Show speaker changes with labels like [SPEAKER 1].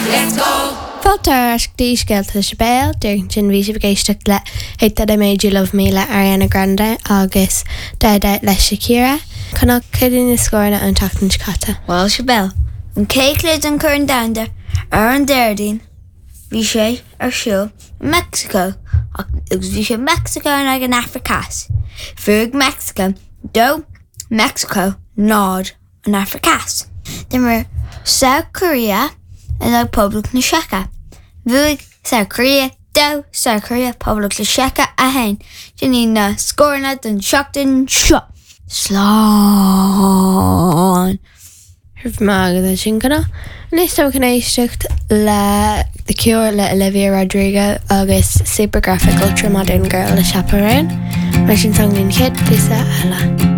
[SPEAKER 1] Let's go!
[SPEAKER 2] Fáilte ar ais go dtí Scéalta le Sibéal, díreach ansin bhí sibh ag éisteacht le Hate That I Made You Love Me le Ariana Grande agus Dada le Shakira. Conall, cad iad na scóranna ón tseachtain seo caite?
[SPEAKER 3] Bhuel, Sibéal, an chéad chluiche den Chorn Domhanda ar an Déardaoin, bhí sé ar siúl i Meicsiceo agus bhí sé Meicsiceo in aghaidh an Afraic Theas. Bhuaigh Meicsiceo 2, Meicsiceo 0. an Afraic Theas. D'imir South Korea in aghaidh Poblacht na Seice. Bhuaigh South Korea 2, South Korea, Poblacht na Seice 1. Sin iad na scóranna don tseachtain seo. Slán!
[SPEAKER 2] Raibh maith agat as sin, Conall. Anois táimid chun éisteacht le The Cure le Olivia Rodrigo agus Supergraphic Ultra Modern Girl le Chappell Roan. Mar sin, táimid an chéad píosa eile.